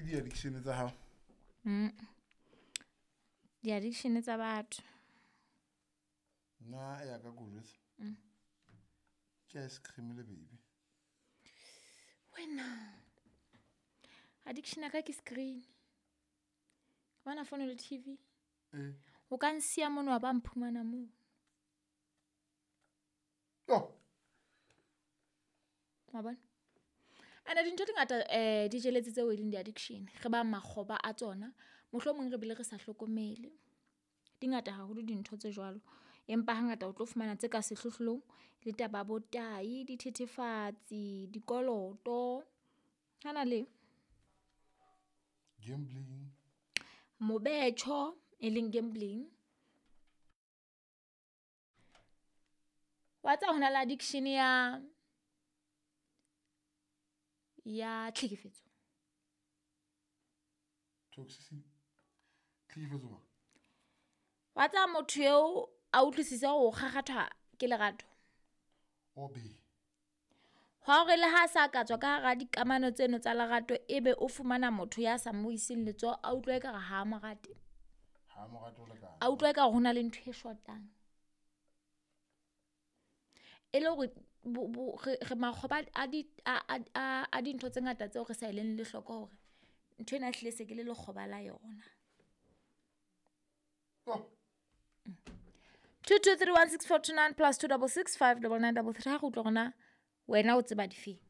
Di-addiction tsa hao? Di-addiction tsa batho. Nna ya ka ko jwetsa, ke ice cream le baby. Wena, addiction ya ka ke screen. Bona phone le TV. Ee. O ka nsiya mono wa ba mphumana moo. Oh. Wa bona? Ene dintho di ngata di jeletse tseo e leng di-addiction, re ba makgoba a tsona, mohlomong re bile re sa hlokomele. Di ngata haholo dintho tse jwalo, empa hangata o tlo fumana tse ka sehlohlolong le taba ya bo tai, dithethefatsi, dikoloto. Hana le gambling, mobetjho e leng gambling. Wa tseba hona le addiction ya tlhekefetso. Toxicity, tlhekefetso mang? Wa tseba motho eo a utlwisise hore o kgakgathwa ke lerato. Obe. Hwa hore le ha sa ka tswa ka hara dikamano tseno tsa lerato, ebe o fumana motho ya sa mo iseng letsoho, a utlwa ekare ha a mo rate. Ha mo rate ho lekana. A utlwa ekare ho na le ntho e shotang. E le hore re makgoba a dintho tse ngata tseo re sa eleng le hloko hore ntho ena ehlile se ke le lekgoba la yona. Oh. 22316429 plus 266 59933. Ha re utlwa rona wena o tseba difeng.